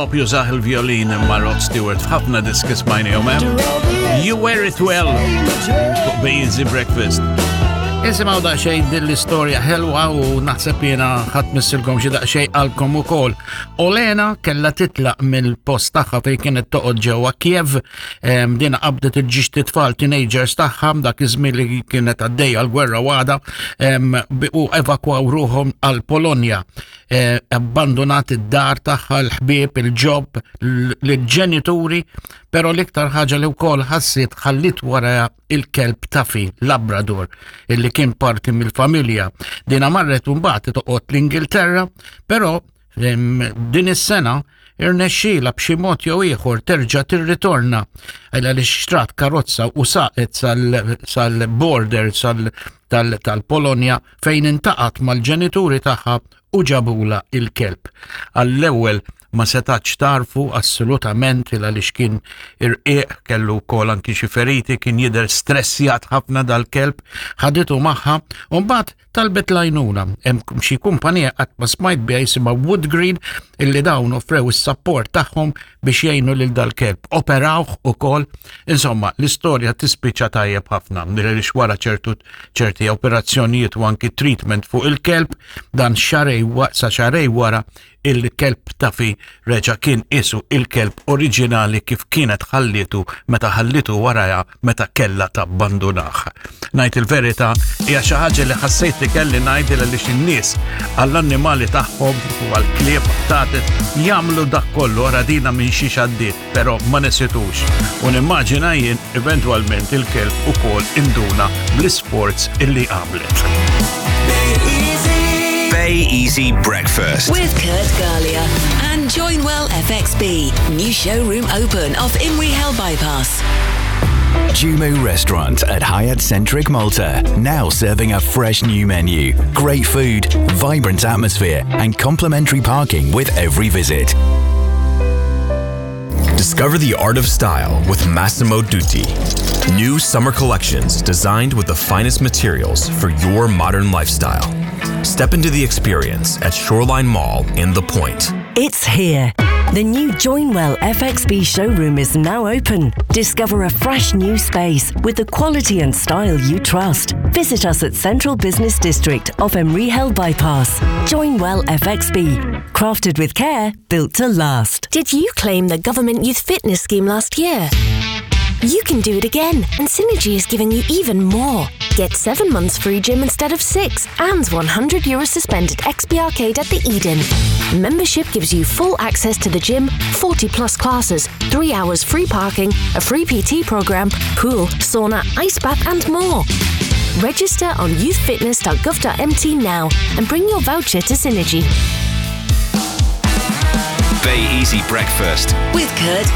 Bob jużah il-violin imma Rod Stewart f'ħafna diski smajnihom hemm. You Wear It Well fuq Be Easy Breakfast. Isimgħu daqsxejn din l-istorja ħelwa u naħseb jiena ħadd missilkom xi daqsxejn qalbkom ukoll. Olena kellha titlaq mill-post tagħha fejn kienet toqgħod ġewwa Kiev, din qabdet il-ġiex titfal teenagers tagħha dak iż-żmien li kienet għaddejja l-gwerra għada u evakwaw ruħhom għal Polonja. Eh, abbandonat id-dar tagħha, l-ħbieb, il-ġob, l-ġenituri, però l-iktar ħaġa li wkoll ħassit ħallit wara il-kelb Tafi, Labrador, illi kien parti mill-familja. Dina marret mbagħad toqgħod l-Ingilterra, però din is-sena irnexxiela b'xi mod jew ieħor terġa' tirritorna għaliex xtrat karozza u saqet sal-border tal-Polonja fejn intaqat mal-ġenituri tagħha u ġabula il-kelb. Għall-ewwel ma setatx tarfu assolutament il għaliex kien irqiq, kellu wkoll anki xi feriti, kien jidher stressjat ħafna dal-kelb, ħaditu magħha u mbagħad talbet l-għajnuna. Hemm xi kumpanija qatt ma smajt biha jisimha Wood Green illi dawn offrew is-sapport tagħhom biex jgħinu lil dal-kelb. Operawh ukoll. Insomma, l-istorja tispiċċa tajjeb ħafna għaliex wara ċertu ċerti operazzjonijiet u anki treatment fuq il-kelb dan xarej sa xarej wara il-kelb Tafi reġa' kien isu il-kelb oriġinali kif kienet ħallietu meta ħallitu warajha meta kellha tabbandunah. Ngħid il-verità hija xi ħaġa li ħassejt li kelli ngħid għaliex in-nies għall-annimali tagħhom u għall-klieb tatet jagħmlu dak kollu ara dina minn xiex għaddiet, però ma nesitux. U nimmaġina jien eventwalment il-kelb ukoll induna bl-isforz illi għamlet. Bay Easy Breakfast. With Kurt Galea and Joinwell FXB. New showroom open off Imrihel Bypass. Jumu Restaurant at Hyatt Centric Malta, now serving a fresh new menu, great food, vibrant atmosphere, and complimentary parking with every visit. Discover the art of style with Massimo Dutti. New summer collections designed with the finest materials for your modern lifestyle. Step into the experience at Shoreline Mall in The Point. It's here. The new Joinwell FXB showroom is now open. Discover a fresh new space with the quality and style you trust. Visit us at Central Business District off Emrihel Bypass. Joinwell FXB. Crafted with care, built to last. Did you claim the government youth fitness scheme last year? You can do it again, and Synergy is giving you even more. Get 7 months free gym instead of 6 and 100 euro suspended XB Arcade at the Eden. Membership gives you full access to the gym, 40 plus classes, 3 hours free parking, a free PT program, pool, sauna, ice bath, and more. Register on youthfitness.gov.mt now and bring your voucher to Synergy. Bay Easy Breakfast. With Kurt